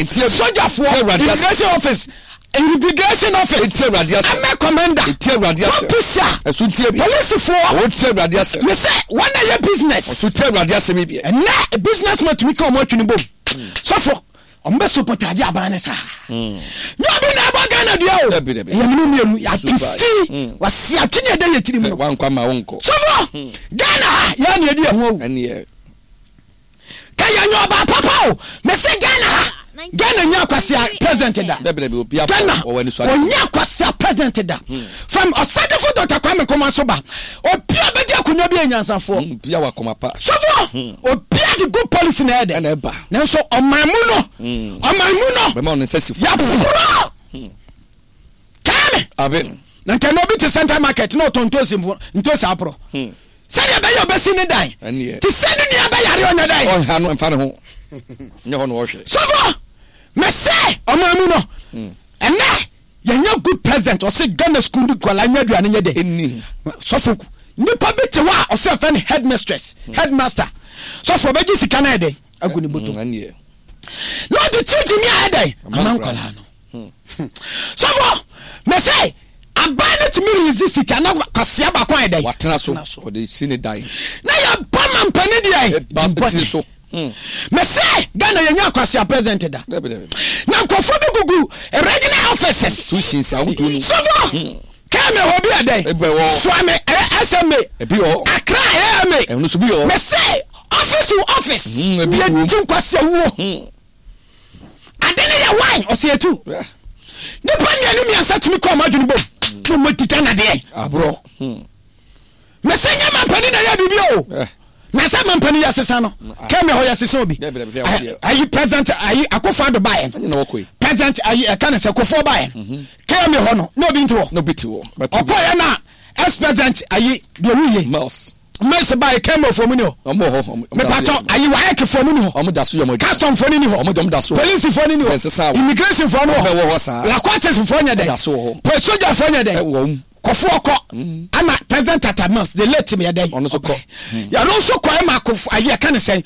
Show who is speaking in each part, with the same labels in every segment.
Speaker 1: Sogyafoɔ, immigration office, immigration office, army commander, publisher, polisifoɔ, mesɛ wɔn na yɛ business. Ɛnɛ business man tumi ka wɔn atwi ne bom. Sɔfo, wɔn bɛ support agye aban ne saa. Nyɛ obi na ɛbɔ Ghana dua o. Ɛyɛ mene mmienu yɛate fi wasi atwe ne ɛda yɛ tirim no. Sɔfo, Ghana ha yɛn na yɛdi ɛho awu. Ka yɛ nyɛ ɔbaa papa o. Mese Ghana ha Ghana nya akwasia president da. Ghana ɔnya akwasia president da. Hmm. From ɔsadefo Dr. Kwame Nkrumah so ba. Obi a bɛdi akonnwa bi yɛ nyansafoɔ. Hmm,
Speaker 2: obi a wakoma pa.
Speaker 1: Sɔfo hmm. obi a de good policy na ɛyɛ dɛ. Nanso ɔman mu no ɔman mu no.
Speaker 2: Bɛma ɔne nsa si
Speaker 1: fam. Yɛporɔ. Kaa me. Na nka na obi te central market na ɔtɔn ntosi ntosi aporɔ. Sɛdeɛ ɛbɛyɛ ɔbɛsi ne dan. Te sɛ ne nua bɛyare ɔnyɛ dɛn.
Speaker 2: Ɔnha no mfa ne ho nyɛ hɔ na ɔhwɛ.
Speaker 1: Sɔfo mese ɔman mu no hmm. ɛnɛ yɛnyɛ good president ɔse Ghana school ni nkwadaa nyɛ aduane nyɛ dɛ. Sɔfo nipa bi te hɔ a ɔse ɛfɛ no headmistress hmm. headmaster sɔfo ɔbɛgye sika no ayɛ dɛn agu ne bɔtɔ hmm, na ɔde kyigyi ni ayɛ dɛn ama nkwadaa no. Sɔfo, mese aban no tumi release sika na kwasia baako ayɛ dɛn?
Speaker 2: Watena so, ɔde si ne dan.
Speaker 1: Na yɛbɔ mampanin deɛ
Speaker 2: ɛba tiri so.
Speaker 1: Mese Ghana yɛnya kwasia president da. Na nkurɔfoɔ bi gugu regional offices.
Speaker 2: Institutions ahodoɔ no.
Speaker 1: Sɔfo, kɛmɛ hɔ bi ɛdɛn? Suame ɛyɛ SMA. Accra ɛyɛ
Speaker 2: MA.
Speaker 1: Mese office to office. Yɛdi nkwasia wuo. Ade no yɛ wine ɔsɛ yɛtu. Nipa mmienu mmiɛnsa tumi kɔ ɔmo adwene bom na ɔmo adi Ghana deɛ.
Speaker 2: Aborɔ. Hmm.
Speaker 1: Mese nyɛ mampanin na ɛyɛ biribi o. Eh. Na sɛ mampanin yɛ sesa no. Mm, ah. Kɛmɛ hɔ yɛ sesa obi. Ayi president ayi Akufo Addo baayɛ no. President ayi ɛka ne sɛ Kufuor baayɛ no. Mhm. Kɛmɛ hɔ no na obi nti hɔ.
Speaker 2: Na obi ti hɔ.
Speaker 1: Ɔkɔ yɛ na ex president ayi deɛ owu yie.
Speaker 2: Mills.
Speaker 1: Mɛs ba yi kɛmɛ fo mu ni hɔ.
Speaker 2: Ɔmo wɔ hɔ.
Speaker 1: Mepatɔ ayi WAEC fo mu ni hɔ.
Speaker 2: Ɔmo da so yɛ ɔmo adwuma.
Speaker 1: Custom fo ni ni hɔ.
Speaker 2: Ɔmo de ɔmo da so.
Speaker 1: Polisi fo ni ni hɔ.
Speaker 2: Ɛnsesa wɔ.
Speaker 1: Immigration fo ni hɔ.
Speaker 2: Ɔmo wɔ hɔ saa.
Speaker 1: Lakwaters fo nyɛ dɛ.
Speaker 2: Da so wɔ hɔ.
Speaker 1: Pɛ soja fo nyɛ dɛ.
Speaker 2: Ɛwɔ mu.
Speaker 1: Kɔfoɔ kɔ. Ama President Tata Mills the late yɛ dɛ.
Speaker 2: Ɔno nso kɔ.
Speaker 1: Yɛno nso kɔ ɛma akofo ayi ɛka ne sɛn.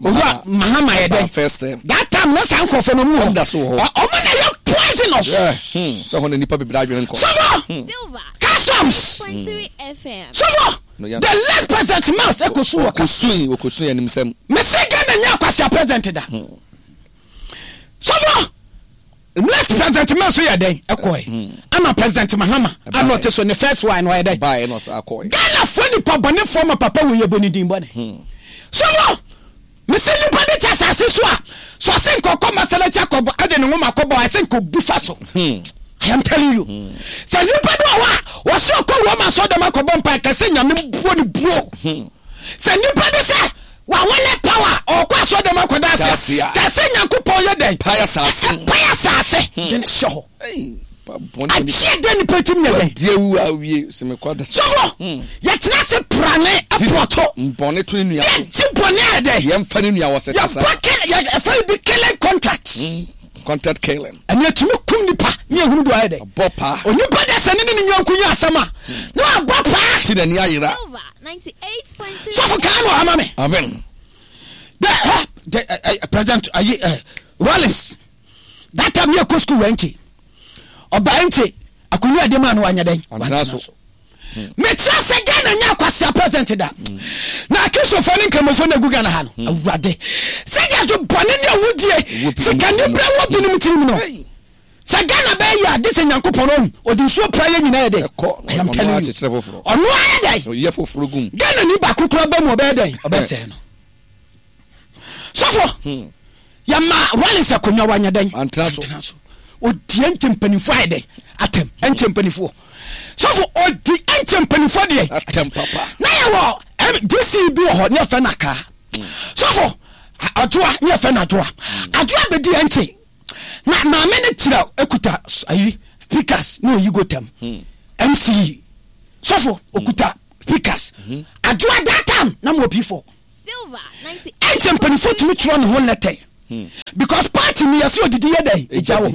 Speaker 1: Owura Mahama yɛ dɛ. That time na saa nkorɔfoɔ no ɔmo wɔ hɔ.
Speaker 2: Ɔmo da so wɔ hɔ.
Speaker 1: Ɔmo na yɛ poisonous.
Speaker 2: Sɛ hɔ na nipa bebree adwene nkɔ.
Speaker 1: Sɔfo. Customs. Sɔfo. The late president Mills ekosu wɔ ka.
Speaker 2: Okosui okosui animsɛm.
Speaker 1: Mese Ghana nya kwasia president da. Sɔfo late president Mills yɛ dɛn ɛkɔɛ. Hmm. Ama president Mahama ano ɔte so ne first one ɔyɛ dɛn.
Speaker 2: Bae na ɔsa akɔɛ.
Speaker 1: Ghana fo nipa bɔne fo ma papa wo yɛ bɔ ne din bɔne. Hmm. Sɔfo mese nipa de te asase so a so ɔse nka ɔkɔ masalakyi akɔbɔ ɛde ne nwoma akɔbɔ ɛsɛ nka obu fa so. Hmm. I am telling you. Hmm. Sɛ nipa bi wɔ hɔ a wɔsɛ ɔkɔ Roma asɔrɔdɛm akɔbɔ mpa kɛsɛ nyame buo ne buo. Hmm. Sɛ nipa bi sɛ wawale power ɔkɔ asɔrɔdɛm akɔda ase kɛsɛ nyankopɔn yɛ dɛn?
Speaker 2: Pae asase.
Speaker 1: Pae asase hmm. de ne hyɛ hɔ. Agyeɛ dɛ nipa tim yɛ dɛn?
Speaker 2: Deɛ wu awie sɛ mekɔ da.
Speaker 1: Sɔfo hmm. yɛtena ase prane ɛpɔtɔ.
Speaker 2: Bɔne to ne nua
Speaker 1: so. Yɛgye bɔne ayɛ dɛn?
Speaker 2: Yɛmfa ne nua wɔ sɛ kasa.
Speaker 1: Yɛbɔ kɛ yɛfɛ bi killing contract.
Speaker 2: Hmm. Contract killing.
Speaker 1: Ɛne ɛtumi kum nipa ne ehunu do ayɛ dɛ.
Speaker 2: Abɔ paa.
Speaker 1: Onipa dɛ sɛ ne ne ne nyɔnko nyɛ asɛm a na wabɔ paa.
Speaker 2: Ti n'ani ayera.
Speaker 1: Sɔfo kaa no ama me.
Speaker 2: Amen.
Speaker 1: Dɛ hɛ dɛ ɛ ɛ president ayi ɛ Rollins that time yɛ kɔ school wɔ nkye ɔbaa nkye akonnwa ɛde maa no wanyɛ dɛn
Speaker 2: wantena so.
Speaker 1: Mekyerɛ sɛ Ghana nyɛ akwasea president da. Na Akristofoɔ ne Nkramofoɔ na egu Ghana ha no. Hmm. Awurade. Sɛdeɛ ado bɔne ne awudie sikaniberɛ wɔ binom tirim no. Sɛ Ghana bɛyɛ yɛ a gye sɛ Nyankopɔn ɔhu ɔde nsuo pra yɛ nyinaa yɛ dɛn. I am telling you. Ɔno ayɛ
Speaker 2: dɛn.
Speaker 1: Ghana ni baako koraa ba mu ɔbɛyɛ dɛn ɔbɛsɛe no. Sɔfo. Hmm. Yɛma Rawlings akonnwa wanyɛ dɛn?
Speaker 2: Antena so.
Speaker 1: Odi ɛnkyɛ mpanimfoɔ ayɛ dɛn? Atɛm. Ɛnkyɛ mpanimfoɔ. Sɔfo odi ɛnkyɛ mpanimfoɔ deɛ.
Speaker 2: Atɛm papa.
Speaker 1: Na yɛwɔ DC bi wɔ hɔ ne yɛfɛ no akaa. Hmm. Sɔfo Adwoa ne yɛfɛ no Adwoa. Hmm. Adwoa bɛdi ɛnkyɛ. Na maame no kyerɛ ekuta ayi speakers ne oyi gotam. MCE. Sɔfo okuta speakers. Adwoa that time na mo P4. Ɛnkyɛ mpanimfoɔ tumi twerɛ ne ho lɛtɛ because party no yɛsɛ odidi yɛ dɛn egya wɔ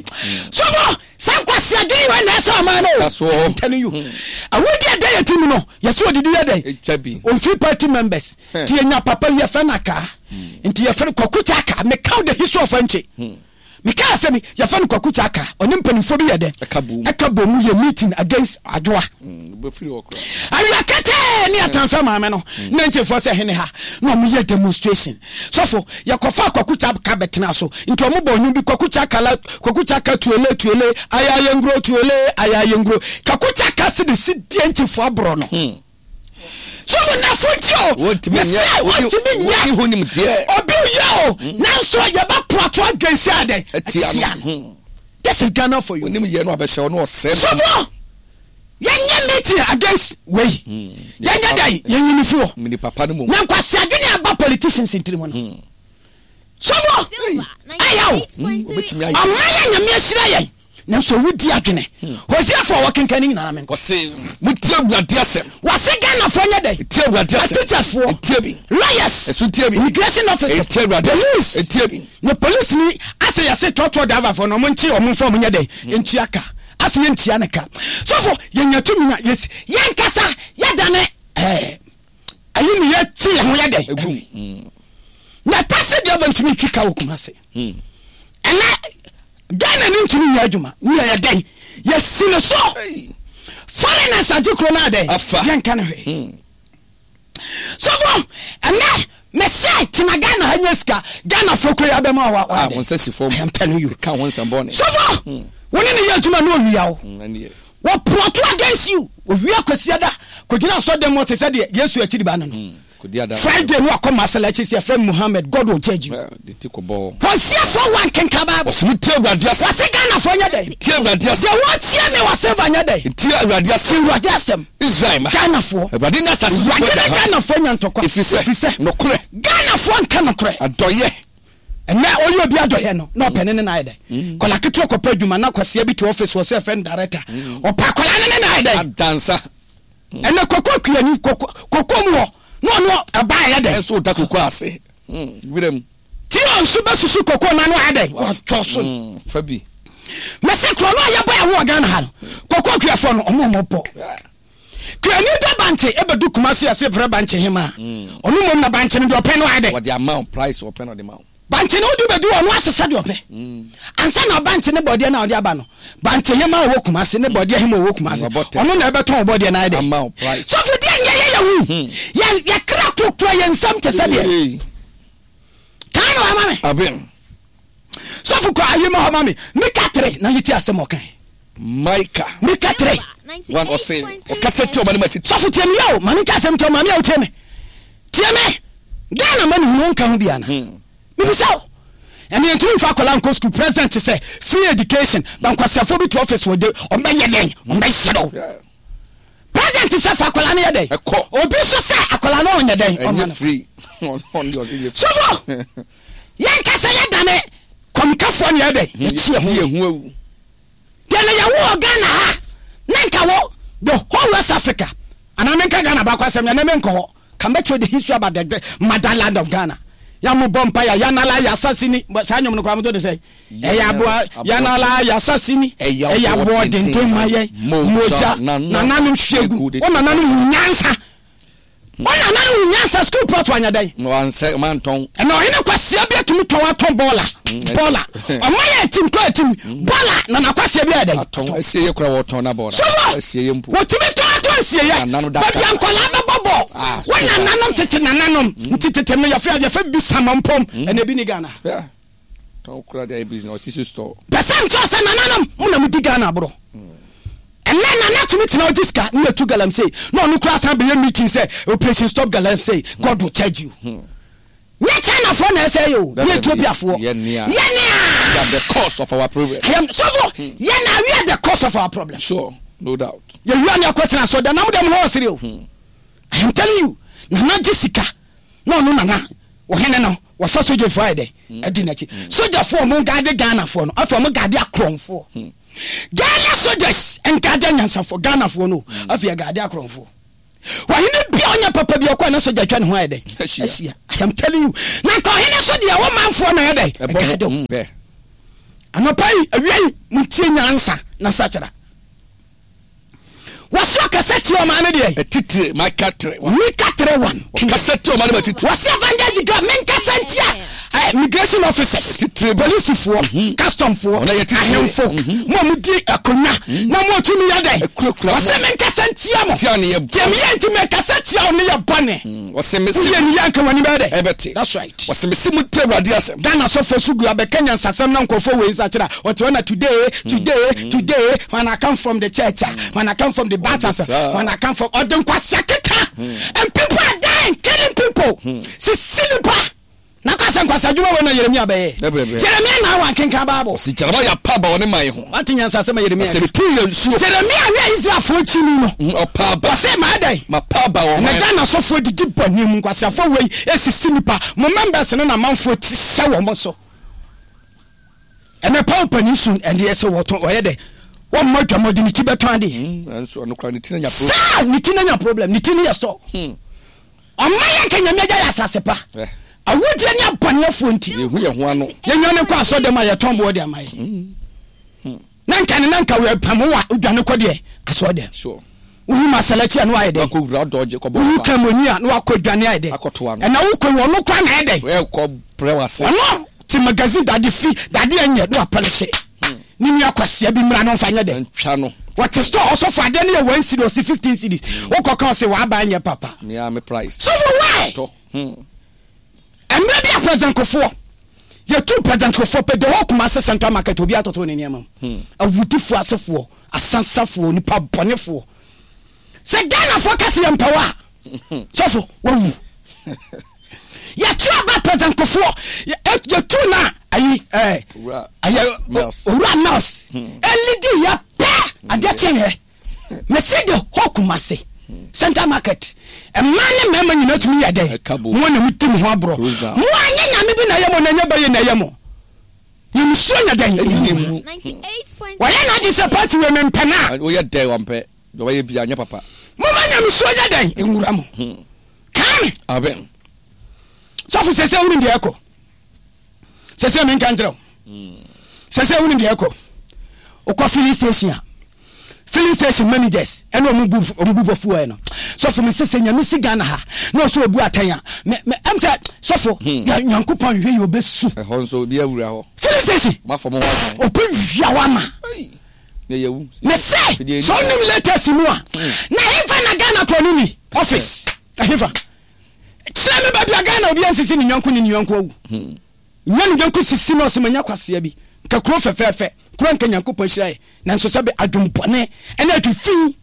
Speaker 1: sɔfo sɛ nkwasi adwene wɔ na ɛsɛ ɔman no o I'm telling you awudi ɛdɛ yɛ ti mu no yɛsɛ odidi yɛ dɛn ofiri party members ti yɛ nya papa yɛ fɛ na kaa nti yɛ fɛ kɔkuta kaa meka the history of ɛnkyɛ. Mekaa asɛm yi, yɛfrɛ no Kwaku Kyaka, ɔne mpanimfoɔ bi yɛ dɛn? Ɛka bom mu yɛ meeting against Adwoa. Awia ketee ne yɛtransfer maame no, na nkyefoɔ sɛ hene ha, na wɔn yɛ demonstration. Sɔfo, yɛkɔfaa Kwaku Kyaka bɛtena so, nti wɔn bɔ nnwom bi, Kwaku Kyaka la, Kwaku Kyaka tuele tuele, ayayenguro tuele, ayayenguro. Kwaku Kyaka se de si deɛ nkyefoɔ aborɔ no. So wo nafo nti o.
Speaker 2: Wontumi nyɛ.
Speaker 1: Mesɛ wontumi nyɛ.
Speaker 2: Wonni ho nimdeɛ.
Speaker 1: Obi yɛ o. Nanso yɛbɛ plot against adɛn?
Speaker 2: Atia no.
Speaker 1: This is Ghana for you.
Speaker 2: Wonim yɛ no abɛhyɛ ɔno ɔsɛe no.
Speaker 1: Sɔfo, yɛnyɛ meeting against wei. Yɛnyɛ dɛn? Yɛnyi ne fi hɔ.
Speaker 2: Mini papa no mom.
Speaker 1: Na nkwasi adwene aba politicians ntiri mu no. Sɔfo, ɛyɛ o.
Speaker 2: Obetumi ayɛ.
Speaker 1: Ɔman yɛ Nyame ahyira yɛn. Nanso owu di adwene. Hosea fo a wɔkenkan ne nyinaa menkɔ.
Speaker 2: Wɔse montie Awurade asɛm.
Speaker 1: Wɔse Ghanafoɔ nyɛ dɛn?
Speaker 2: Tie Awurade asɛm.
Speaker 1: Atikyafoɔ.
Speaker 2: Tie bi.
Speaker 1: Lawyers.
Speaker 2: Ɛso tie bi.
Speaker 1: Immigration officers.
Speaker 2: Tie Awurade asɛm.
Speaker 1: Police.
Speaker 2: Tie bi.
Speaker 1: Na police ni asɛ yɛse trɔtrɔ driver foɔ no ɔmo nkye ɔmo nfa ɔmo nyɛ dɛn? Ntua ka. Asɛ yɛntua ne ka. Sɔfo yɛnya tumi na yɛsi yɛnkasa yɛdane ɛɛ. Ayi ne yɛ kye yɛn ho yɛ dɛn?
Speaker 2: Egum.
Speaker 1: Na taxi driver ntumi ntwi ka wɔ Kumasi. Ɛnɛ Ghana ni ntumi nyɛ adwuma. Ne yɛ dɛn? Yɛsi ne so. Foreigners agye kuro no adɛn?
Speaker 2: Afa.
Speaker 1: Yɛnka ne hwee. Sɔfo, ɛnɛ mɛsɛ tena Ghana ha nyɛ sika. Ghana fo kuro yɛ abɛma wa wa
Speaker 2: dɛn? Wɔn nsa si fam.
Speaker 1: I am telling you.
Speaker 2: Ka ho nsɛm bɔne.
Speaker 1: Sɔfo, wɔne ne yɛ adwuma na owia wo. Wɔ plɔto against you. Owia Kwasiada kɔgyina asɔrdan mu ɔte sɛ deɛ Yesu akyiri ba no no. Friday no wakɔ Masalakyi sɛ yɛfrɛ Muhammad God will judge you. Hosiafoɔ wa nkenka Bible.
Speaker 2: Wɔse tie Awurade asɛm.
Speaker 1: Wɔse Ghanafoɔ nyɛ dɛn?
Speaker 2: Tie Awurade asɛm.
Speaker 1: Deɛ wɔtie me wɔ silver nyɛ dɛn?
Speaker 2: Tie Awurade asɛm.
Speaker 1: Awurade asɛm.
Speaker 2: Israel ma.
Speaker 1: Ghanafoɔ.
Speaker 2: Awurade ne asase sofoɔ
Speaker 1: Awurade ne Ghanafoɔ nya ntɔkwa.
Speaker 2: Ɛfiri sɛ. Nokorɛ.
Speaker 1: Ghanafoɔ nka nokorɛ.
Speaker 2: Adɔyɛ.
Speaker 1: Ɛnɛ ɔyɛ obi adɔyɛ no na ɔpɛ ne ne na ayɛ dɛn? Kɔla ketewa kɔpɛ adwuma na kwasia bi te office wɔ sɛ ɛfɛ no director. Ɔpɛ akɔla ne ne na ayɛ dɛn?
Speaker 2: Adansa.
Speaker 1: Ɛnɛ koko kuani koko koko mu hɔ na ɔno ɛba ayɛ dɛn?
Speaker 2: Ɛnso ɔda koko ase. Wira mu.
Speaker 1: Ti ɔnso bɛsusu koko na no ayɛ dɛn? Watɔ so.
Speaker 2: Fa bi.
Speaker 1: Mɛsɛ korɔ no a yɛbɔ ɛho wɔ Ghana ha no koko kuafoɔ no ɔmo ɔmo bɔ. Kuani dɔ bankye ɛbɛdu Kumasi ase frɛ bankye hemaa. Ɔno mmom na bankye no deɛ ɔpɛ no ayɛ dɛn?
Speaker 2: Wɔde ama wo price ɔpɛ na ɔde ma wo.
Speaker 1: Bankye no wode bɛdu ɔno asesa deɛ ɔpɛ. Ansa na bankye ne bɔdeɛ no a ɔde aba no, bankye hemaa ɔwɔ Kumasi ne bɔdeɛ hemaa ɔwɔ Kumasi, ɔno na ɛbɛtɔn wo bɔdeɛ no ayɛ dɛn?
Speaker 2: Ama wo price.
Speaker 1: Sɔfo deɛ ne yɛyɛ yɛ ho. Yɛn yɛkra kurakura yɛn nsam te sɛ deɛ. Kaa na wama me.
Speaker 2: Amen.
Speaker 1: Sɔfo kɔ ayi ma hɔ ma me. Mika 3 na yɛti asɛm ɔkae.
Speaker 2: Micah.
Speaker 1: Mika 3.
Speaker 2: 1 ɔse ɔkasa tia ɔma ne ma titi.
Speaker 1: Sɔfo tie me yɛ o, ma menka asɛm nkyerɛ wo, maame a wotie me. Tie me. Ghana ma nehunu wonka ho bi ana? Mebisa wo. Ɛne yɛntumi mfa akwadaa nkɔ school, president sɛ free education, ba nkwasiafoɔ bi te office wɔ de, ɔmbɛyɛ dɛn? Ɔmbɛyɛ dɛn? President sɛ fa akwadaa no yɛ dɛn?
Speaker 2: Ɛkɔ.
Speaker 1: Obi nso sɛ akwadaa no ɔnyɛ dɛn? Ɔma no.
Speaker 2: free.
Speaker 1: Sɔfo, yɛnkasa yɛdane kɔmkafoɔ ne yɛ dɛn? Yɛkyi yɛ ho.
Speaker 2: awu.
Speaker 1: Deɛ na yɛwo wɔ Ghana ha na nka wɔ the whole West Africa anaa menka Ghana baako asɛm ɛnɛ menkɔ hɔ ka mɛkyerɛ the history about the motherland of Ghana ya mo bɔ mpa ya yanala yasasi ni saa nnwom no koraa moto de sɛ ɛyɛ aboa yanala yasasi ni ɛyɛ aboɔ denden ma yɛn mogya nananom hwie gu wo nananom hu nyansa Wo nana no hu nyansa school plot wanyɛ dɛn?
Speaker 2: Wansɛ mantɔn.
Speaker 1: Ɛna ɔhene kwasia bi atumi tɔn atɔn bɔɔla bɔɔla ɔma yɛ atim kɔ atim bɔɔla nana kwasia bi ayɛ dɛn?
Speaker 2: Atɔn asie yɛ kora wɔtɔn na bɔɔla
Speaker 1: sɔfo
Speaker 2: asie yɛ mpo.
Speaker 1: Wɔtumi tɔn atɔn asie yɛ baabi a nkɔlaa bɛbɔ bɔɔl wo nananom tete nananom nti tete no yɛfɛ yɛfɛ bi samampom ɛna ebi ni Ghana.
Speaker 2: Tɔn kura de ayɛ business ɔsi so store.
Speaker 1: Pɛ sɛ nkyerɛ sɛ nananom mo na mo di Ghana aborɔ. Ɛnɛ nana tumi tena ɔgye sika ne yɛtu galamsey na ɔno kura san bɛyɛ meeting sɛ operation stop galamsey God will charge you. Nyɛ China foɔ na ɛsɛ yɛ o, nyɛ Ethiopia foɔ.
Speaker 2: Yɛ nea.
Speaker 1: Yɛ nea.
Speaker 2: We are the cause of our problem.
Speaker 1: I am sɔfo yɛ na we are the cause of our problem.
Speaker 2: Sure, no doubt.
Speaker 1: Yɛ wia ne akɔ tena so dɛ nam dɛm hɔ ɔsere o. I am telling you nana gye sika na ɔno nana ɔhene no wɔfa sogyafoɔ ayɛ dɛ adi n'akyi sogyafoɔ ɔmo gaade Ghanafoɔ no afei ɔmo gaade akorɔmfoɔ Ghana soldiers nkaade anyansafoɔ Ghanafoɔ no afei ɛgaade akorɔmfoɔ ɔhene bia ɔnyɛ papa bi ɔkɔ na sogya atwa ne ho ayɛ dɛ ahyia I am telling you na nka ɔhene so deɛ wɔ manfoɔ na ɛyɛ dɛ ɛgaade o anɔpa yi awia yi montie nyansa na sakyera Wɔso ɔkasa tia ɔman no deɛ.
Speaker 2: Atitire, Micah 3.
Speaker 1: Mika 3. 3:1.
Speaker 2: Ɔkasa tia ɔman no mu atitire.
Speaker 1: Wɔse Evangelist Gabriel menkasa ntia eh, immigration officers, polisifoɔ, customfoɔ,
Speaker 2: Wɔn a yɛ titire.
Speaker 1: ahemfo, mo a modi akonnwa na mo a tumi yɛ dɛn.
Speaker 2: Akurakura mo.
Speaker 1: Wɔse menkasa ntia mo.
Speaker 2: Tia ne yɛ
Speaker 1: Deɛ meyɛ nti mekasa tia wo ne yɛ bɔne.
Speaker 2: Wɔse mese.
Speaker 1: Woyɛ ne yɛ anka w'ani bɛyɛ dɛn.
Speaker 2: Ɛbɛte.
Speaker 1: That's right.
Speaker 2: Wɔse mese mo ntie Awurade asɛm.
Speaker 1: Ghana sɔfoɔ so gu abɛka nyansasɛm na nkurɔfoɔ wei nsakyera ɔte hɔ na today today today when I come from the church a when I come from the Baptist
Speaker 2: saa.
Speaker 1: when I come from ɔde nkwasea keka and people are dying killing people sisi nipa na kɔ sɛ nkwasea adwuma wei na Yeremia bɛyɛ
Speaker 2: Ɛbrɛbrɛ.
Speaker 1: Jeremia na awa nkenkan Bible
Speaker 2: Ɔse Jeremiah pa aba wɔ ne man ho.
Speaker 1: wate nyansasɛm a Yeremia
Speaker 2: Ɔse metuu yɛn nsuo.
Speaker 1: Jeremia wia Israelfoɔ akyi no no
Speaker 2: Ɔpa aba.
Speaker 1: ɔse maa dɛn
Speaker 2: Mapa aba wɔ
Speaker 1: Na
Speaker 2: man
Speaker 1: Ghana asɔfoɔ didi bɔne mu nkwaseafoɔ wei esisi nipa mo members no na amanfoɔ ti hyɛ wɔn so ɛnɛ paul panin sun ɛdeɛ sɛ wɔtɔn ɔyɛ dɛ wɔn mma dwam ɔde ne ti bɛtɔn adeɛ
Speaker 2: Nanso ɔno koraa ne ti na nya problem.
Speaker 1: saa ne ti na nya problem ne ti no yɛ store ɔma yɛ nka nyame agya yɛ asase pa
Speaker 2: Eh.
Speaker 1: awudie ne abɔneɛfoɔ nti
Speaker 2: Yɛhu yɛn ho ano.
Speaker 1: yɛnya ne kɔ asɔ dɛm a yɛtɔn boɔ de ama yɛ na nka ne na nka wɔpam wo a wodwane kɔ deɛ asɔ dɛm
Speaker 2: Sure.
Speaker 1: wohu masalakyi a na wayɛ dɛn
Speaker 2: Wakɔ wura dɔgye kɔbɔ
Speaker 1: wohu
Speaker 2: mpa.
Speaker 1: kramoni a na wakɔ dwane ayɛ dɛn
Speaker 2: Akɔtoa no.
Speaker 1: ɛna wokɔ wɔ ɔno kora na ayɛ dɛn
Speaker 2: Ɛkɔ brɛ wase.
Speaker 1: ɔno te magazine dade fi dade ɛnyɛ na wapɛlɛhyɛ ne nua kwasia bi mmra no mfa nyɛ dɛn
Speaker 2: Ntwa no.
Speaker 1: wɔte store ɔsɔfo adeɛ no yɛ 1 cedi ɔse 15 cedis wokɔ ka ɔse waba nyɛ papa
Speaker 2: Mea me price.
Speaker 1: sɔfo why
Speaker 2: Tɔ.
Speaker 1: Mmerɛ bi a President Kufuor, yɛtuu President Kufuor pɛ, the whole Kumasi Central Market obiara totoo ne nneɛma mu. Awudifoɔ asefoɔ, asansafoɔ, nipa bɔnefoɔ. Sɛ Ghanafoɔ ka sɛ yɛmpɛ wo a, sɔfo, wawu. Yɛtu aba President Kufuor, yɛtu no a, ayi, ɛɛ,
Speaker 2: Owura Mills.
Speaker 1: Owura Mills, ɛlidi yɛ pɛ, adeɛ kyeeɛ. Mese the whole Kumasi central market mmaa ne mmarima nyinaa tumi yɛ dɛn? Mo na mo di mo ho aborɔ. Mo anyɛ nyame bi na ɛyɛ mo na ɛnyɛ bɛyɛ na ɛyɛ mo. Nyamesuo nyɛ dɛn? Ɛnni mu. Wɔyɛ n'adwene sɛ party wei mempɛ no a.
Speaker 2: Woyɛ dɛn wampɛ deɛ ɔbɛyɛ bia nyɛ papa.
Speaker 1: Moma nyamesuo nyɛ dɛn? Nwura mo. Kaa me.
Speaker 2: Amen.
Speaker 1: Sɔfo sɛsɛ wonim deɛ ɛkɔ. Sɛsɛ menka nkyerɛ wo. Sɛsɛ wonim deɛ ɛkɔ. Wokɔ filling station a, filling station managers ɛne ɔmo bu ɔmo bu bɔfu ɛ no. Sɔfo me sɛ sɛ nyame si Ghana ha na ɔsɛ obu atɛn a, me me ɛm sɛ sɔfo ya Nyankopɔn nhwɛ yi ɔbɛsu.
Speaker 2: Ɛhɔ nso obi awura hɔ.
Speaker 1: Filling station.
Speaker 2: Mafɔ mo ho adwan.
Speaker 1: Ɔbɛ wia hɔ ama.
Speaker 2: Na yɛwu.
Speaker 1: Me sɛ sɛ ɔnim latest mu a, na hefa na Ghana korɔ no ni office ɛhefa. Kyerɛ me baabi a Ghana obiara nsisi ne yɔnko ne ne yɔnko awu. Nya ne yɔnko sisi na ɔsɛ manya kwasea bi. Nka kuro fɛfɛɛfɛ, kuro a nka Nyankopɔn ahyira yɛ. Nanso sɛbe adwen bɔne ne adwen fi.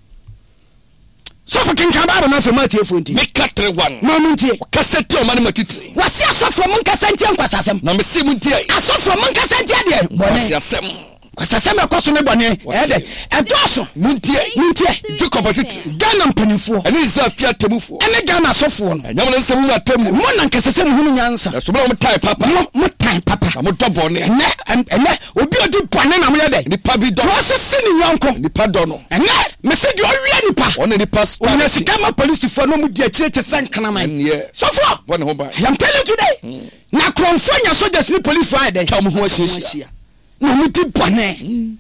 Speaker 1: Sɔfo kenkan Bible no afei ma atiefoɔ ntie.
Speaker 2: Mika 3:1.
Speaker 1: Ma ɔmo ntie.
Speaker 2: Ɔkasa tia ɔman no mu atitire.
Speaker 1: Wɔse asɔfoɔ monkasa ntia nkwasasɛm.
Speaker 2: Na mese montie.
Speaker 1: Asɔfoɔ monkasa ntia deɛ? Bɔne.
Speaker 2: Nkwaseasɛm.
Speaker 1: Kwasasɛm a ɛkɔ so ne bɔne ɛyɛ dɛ ɛdɔɔso.
Speaker 2: Montie.
Speaker 1: Montie.
Speaker 2: Jacob atitire.
Speaker 1: Ghana mpanimfoɔ.
Speaker 2: Ɛne Israel fie atemmufoɔ.
Speaker 1: Ɛne Ghana asɔfoɔ no.
Speaker 2: Ɛnyɛ mo na ɛsɛ sɛ mohunu atemmuo.
Speaker 1: Mo na anka ɛsɛ sɛ mohunu nyansa.
Speaker 2: Nanso mo na motan papa.
Speaker 1: Mo, motan papa.
Speaker 2: Na modɔ bɔne.
Speaker 1: Ɛnɛ, ɛnɛ, obi a ɔdi bɔne na moyɛ dɛ.
Speaker 2: Nnipa bi dɔ no.
Speaker 1: Na ɔsese ne yɔnko.
Speaker 2: Nnipa dɔ no.
Speaker 1: Ɛnɛ, mese deɛ ɔwia nipa.
Speaker 2: Wɔn na nnipa taa
Speaker 1: Ɔnya
Speaker 2: n'akyi.
Speaker 1: sika ma polisifoɔ na wɔdi akyire te sɛ nkraman.
Speaker 2: Ɛnneɛ,
Speaker 1: Sɔfoɔ,
Speaker 2: bɔ ne ho ban.
Speaker 1: I am telling you today. Na akorɔmfoɔ nya soldiers ne polisifoɔ ayɛ dɛn?
Speaker 2: Atwa wɔn ho ahyiahyia.
Speaker 1: Na wɔn di bɔne.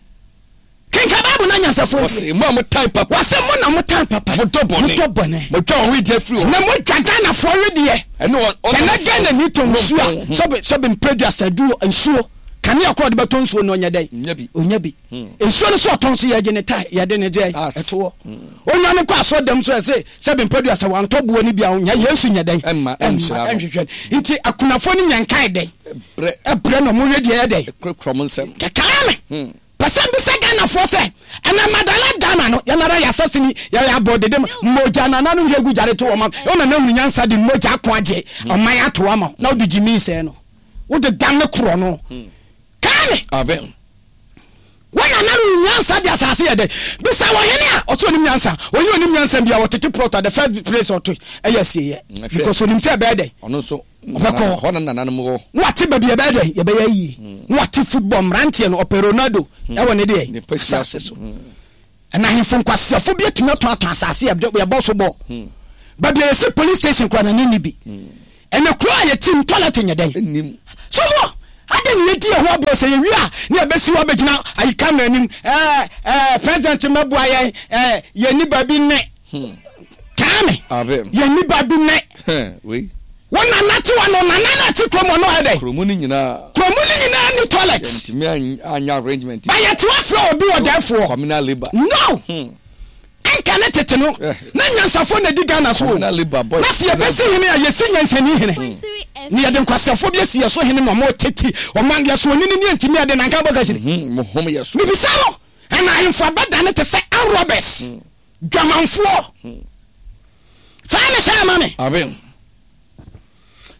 Speaker 1: Kenkan Bible na anyansafoɔ ntie.
Speaker 2: Wɔse mo a motan papa.
Speaker 1: Wɔse mo na motan papa.
Speaker 2: Modɔ bɔne.
Speaker 1: Modɔ bɔne.
Speaker 2: Modwa wɔn wedeɛ firi hɔ.
Speaker 1: Na modwa Ghanafoɔ wedeɛ.
Speaker 2: Ɛne wɔn.
Speaker 1: Kɛnɛ Ghana ni tɔ nsuo a sɔbe sɔbe mprɛduasa du nsuo kanea korɔ ɔde bɛtɔ nsuo no ɔnyɛ dɛn?
Speaker 2: Ɔnya bi.
Speaker 1: Ɔnya bi. Nsuo no so ɔtɔn so yɛgye ne tae yɛde ne deɛ ɛtoɔ. Ɔnya no kɔ asɔ dɛm so ɛse sɛbe mprɛduasa wantɔ boɔ no bi a ɔnya Yesu nyɛ dɛn?
Speaker 2: Ɛmma ɛnhyira no.
Speaker 1: Ɛnhwehwɛ no. Nti akunafoɔ no nya nkae dɛn?
Speaker 2: Brɛ.
Speaker 1: Ɛbrɛ na ɔmo we deɛ ɛdɛn.
Speaker 2: Ɛkurakura ɔmo nsam.
Speaker 1: Kɛkaa me. Pɛ sɛ mbisa Ghanafoɔ sɛ, ɛnɛ Madala Ghana no, yɛn ara yɛasase ni, yɛyɛ abɔ dede ma, mogya nananom hwie gu gyare to wɔn ama, wo nana hunu nyansa de mogya ako agye ɔman ato ama wo, na wode gyimii sɛɛ no, wode dane korɔ no. Kaa me.
Speaker 2: Amen.
Speaker 1: Wo nana no nyansa de asase yɛ dɛ. Bisa ɔhene a ɔsɛ onim nyansa. Oyi onim nyansa bia ɔtete plot a the first place ɔto ɛyɛ asieɛ. Because onim sɛ ɛbɛyɛ dɛ.
Speaker 2: Ɔno nso
Speaker 1: Ɔbɛkɔ hɔ.
Speaker 2: Hɔ na nananom wɔ.
Speaker 1: Na wate baabi ɛbɛyɛ dɛ yɛbɛyɛ ayie. Na wate football mmeranteɛ no ɔpɛ Ronaldo ɛwɔ ne deɛ asase so. Ɛna ahemfo nkwaseafo bi atumi atɔn atɔn asase yɛbɔ so bɔɔl. Baabi a yɛsi police station koraa na ne nni bi. Ɛnɛ kuro a yɛte mu toilet nyɛ dɛn? Sɔfoɔ, adɛn na yɛdi yɛn ho aborɔ sɛ yɛwie a na yɛbɛsi hɔ abɛgyina ayi camera anim ɛɛ ɛɛ president mmɛboa yɛn ɛɛ yɛnni baabi nne. Kaa. ma me. Yɛn ni ba bi nɛ. Wo nana te wa no nana na te kurom ɔno ayɛ dɛ.
Speaker 2: Kuromu ni nyinaa.
Speaker 1: Kuromu ni nyinaa ni toilet.
Speaker 2: Yɛntumi anya arrangement.
Speaker 1: Ba yɛte wa frɛ obi wɔ dɛfoɔ.
Speaker 2: Communal labour.
Speaker 1: No. Ɛnka ne tete no na nyansafoɔ na edi Ghana so o. Na sɛ yɛbɛsi hene a yɛsi nyansani hene. Ne yɛde nkwaseafoɔ bi asi yɛ so hene na ɔmo tete ɔmo yɛ so onini ne yɛntumi ɛde nanka bɔ kahyire. Mebisa no ɛna ahemfo abɛdane te sɛ armed robbers. Dwamanfoɔ. Saa ne hyɛ ama me.
Speaker 2: Amen.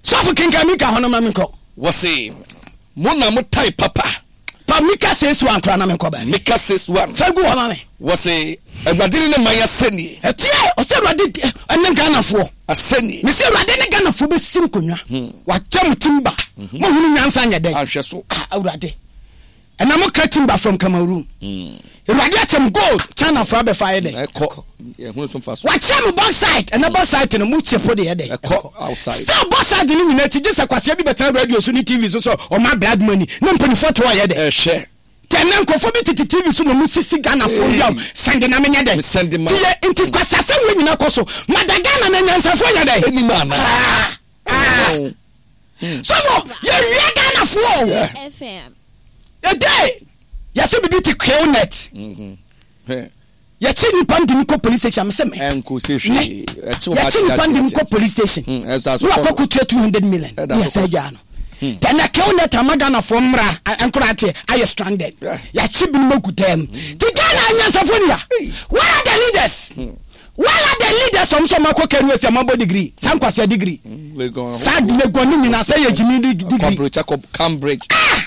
Speaker 1: Sɔfo kenkan Mika hɔ no ma menkɔ.
Speaker 2: Wɔse mo na mo tae papa.
Speaker 1: Pa Mika 6:1 koraa na menkɔ baabi.
Speaker 2: Mika 6:1.
Speaker 1: Fa gu hɔ ma me.
Speaker 2: Wɔse Awurade ne ne man asɛnnie.
Speaker 1: Ɛteɛ ɔsɛ Awurade ne Ghanafoɔ.
Speaker 2: Asɛnnie.
Speaker 1: Mese Awurade ne Ghanafoɔ bɛsi nkonnwa. Wakyɛ mo timba. Mohunu nyansa nyɛ dɛn.
Speaker 2: Anhwɛ so.
Speaker 1: Ah Awurade. Ɛna mo kra timber from Cameroon. Awurade akyɛ mo gold China fo abɛfa ayɛ dɛ.
Speaker 2: Ɛkɔ. Ɛhunu so mfa so.
Speaker 1: Wakyɛ mo bauxite ɛna bauxite no mo kye po de yɛ dɛ.
Speaker 2: Ɛkɔ outside.
Speaker 1: Still bauxite no nyinaa akyi gye sɛ kwasia bi bɛtena radio so ne TV so sɛ ɔma blood money ne mpanyinfoɔ te hɔ yɛ dɛ.
Speaker 2: Ɛhwɛ.
Speaker 1: Tɛ ɛnɛ nkurɔfoɔ bi tete TV so na ɔmo sisi Ghana foɔ wia o sɛnde na menyɛ dɛ.
Speaker 2: Sɛnde ma.
Speaker 1: Tiye nti kwasiasɛm wei nyinaa kɔ so mada Ghana na anyansafoɔ yɛ dɛ.
Speaker 2: Ɛnim anaa.
Speaker 1: Ah ah. Sɔfo yɛwia Ghana foɔ o. Ɛdɛ yɛsɛ bibi te kwew net. Yɛkye nipa de no kɔ police station mesɛ me.
Speaker 2: Ɛnko se hwee.
Speaker 1: Yɛkye nipa de no kɔ police station. Ne wakɔ kɔtua 200 million. Ne yɛsɛ agyaa no. Tɛnɛ kwew net ama Ghana foɔ mmra nkora ateɛ ayɛ stranded. Yɛakye binom agu dɛm. Ti Ghana anyansafo nia. Where are the leaders? Where are the leaders ɔmo sɛ ɔmo akɔ KNUST ɔmo abɔ degree saa nkwasea degree saa Legon ne nyinaa sɛ yɛ gyimi degree.
Speaker 2: Cambridge.
Speaker 1: Ah!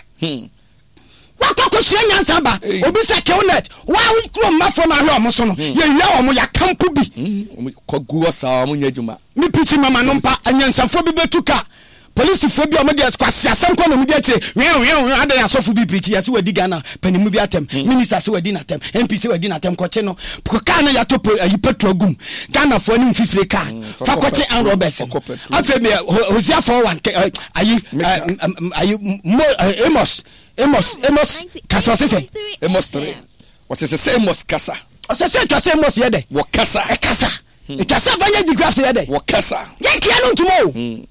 Speaker 1: Wakɔ kɔsua nyansa ba obi sɛ Killnet wa kuro mma fam ahwɛ ɔmo so no yɛwia ɔmo yɛakampo bi.
Speaker 2: Kɔ gu hɔ saa ɔmo nyɛ adwuma.
Speaker 1: Me pikyi mama no mpa anyansafoɔ bi bɛtu ka Polisifoɔ bi a wɔde kwasiasɛm kɔ na wɔdi akyire wɛn wɛn wɛn adɛn asɔfo bi pirikyi yɛse wadi Ghana panimu bi atɛm hmm. minister se wadi n'atɛm MP se wadi n'atɛm kɔkye no kaa no yɛato po ayi petrol gum Ghanafoɔ ne mfifire kaa hmm, fa kɔkye Ann Roberts no afei mi Hosea 4:1 ayi ayi mo Amos Amos Amos kasa ɔse sɛ
Speaker 2: Amos 3 ɔsɛ sɛ sɛ Amos kasa
Speaker 1: ɔsɛ sɛ atwa sɛ Amos yɛ dɛ
Speaker 2: wɔkasa
Speaker 1: ɛkasa Ɛtwa sɛ fa yɛ digraph yɛ dɛ.
Speaker 2: Wɔkasa.
Speaker 1: Yɛnkeɛ no ntoma o.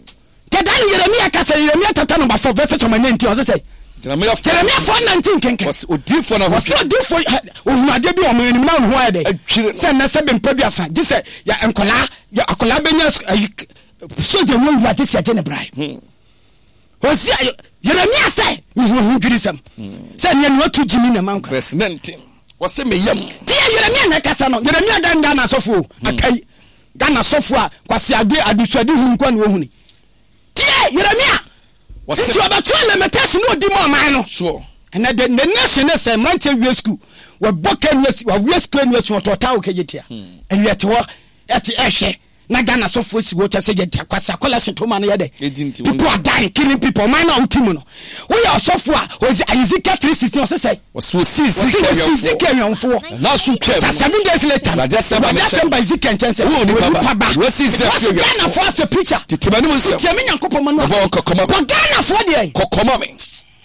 Speaker 1: Kɛ da no Yeremia kasa Yeremia chapter number 4 verses number 19 ɔse sɛ.
Speaker 2: Jeremia 4
Speaker 1: Jeremia 4 19 kenkan.
Speaker 2: Wɔse odiifoɔ no
Speaker 1: Wɔse odiifoɔ ohunu adeɛ bi wɔ ɔman anim na ne ho ayɛ dɛ.
Speaker 2: Adwiri no.
Speaker 1: Sɛ nnɛ sɛ bempɛ duasa gye sɛ yɛ nkɔlaa yɛ akɔlaa bɛnya ayi sogya mu awura gye sɛ yɛgye ne brae. Hosea, Yeremia sɛ, Mehu ahodwirisɛm sɛ nea nea ɔto gyimi na ɛma nkwa.
Speaker 2: Verse 19, Ɔse me yam.
Speaker 1: Deɛ Yeremia na ɛkasa no, Yeremia da Ghana asɔfo o, hmm. akai Ghana asɔfo a kwasi ade adesuade hunu nko na wɔhuni. Tie Yeremia, nti ɔbɛtwerɛ limitation na ɔdi mu ɔman no.
Speaker 2: Sure.
Speaker 1: Ɛnɛ de ne nation ne sɛ mmeranteɛ wie sukuu wɔbɔ kanu asi wɔwie sukuu anu asi wɔtɔ ɔtaa wɔ kɛgye tia. Ɛwiɛ te hɔ ɛte ɛhwɛ. Na Ghana sɔfoɔ si hɔ kyɛ sɛ yɛ kwasi akɔla hyɛ toma no yɛ dɛ. People are dying killing people ɔman no a wote mu no woyɛ ɔsɔfoɔ a ɔsi Ezekiel 3:16 ɔsɛ sɛ
Speaker 2: Ɔsi osi Ezekiel
Speaker 1: Ezekiel awɛmfoɔ.
Speaker 2: N'aso twam.
Speaker 1: Sa seven days later no
Speaker 2: Awurade asɛm ba
Speaker 1: Awurade
Speaker 2: me
Speaker 1: asɛm
Speaker 2: nkyɛn.
Speaker 1: ba Ezekiel nkyɛn sɛ
Speaker 2: Wo onipa
Speaker 1: onipa
Speaker 2: ba,
Speaker 1: ba
Speaker 2: wɔasi Ezekiel
Speaker 1: wɔasi
Speaker 2: awɛmfoɔ.
Speaker 1: Ghanafoɔ asɛ preacher
Speaker 2: Tete m'anim nsɛm.
Speaker 1: Tie me Nyankopɔn ma no
Speaker 2: Bɔ wɔn kɔkɔ ma me.
Speaker 1: Bɔ Ghanafoɔ deɛ
Speaker 2: Kɔkɔ ma me.